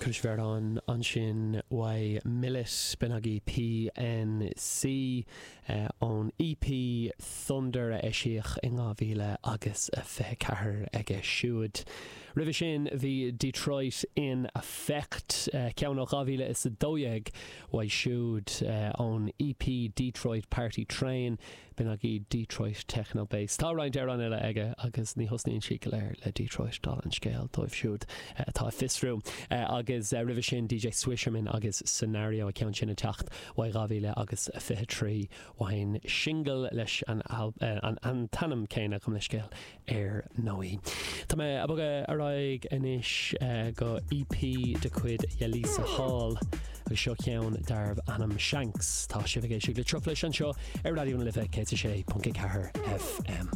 Cloisfear ansin uaidh Millet, b'in agaibh PNC ón EP Thunder a eisíodh in 2000 agus 24 aige siúd. Roimhe sin bhí Detroit in Effect, ceann ó 2012 uaidh siúd ón EP Detroit Party Train. B'in agaibh Detroit Techno Bass. Tá roinnt amhrán eile aige agus ní thosnaíonn siad go léir le Detroit, dála an scéil dóibh siúd atá ag fiosrú. Agus roimhe sin DJ Swisherman agus Scenario, an ceann sin ag teacht uaidh 2000 agus 23 uaidh an singil leis an an t-ainm céanna, gabh mo leithscéal. ar ndóigh. Tá mé ag bogadh ar aghaidh anois go EP de chuid Yelisa Hall agus seo ceann darbh ainm Shanks. Tá sibh ag éisteacht le Truflais anseo ar Raidió na Life 106.4 FM.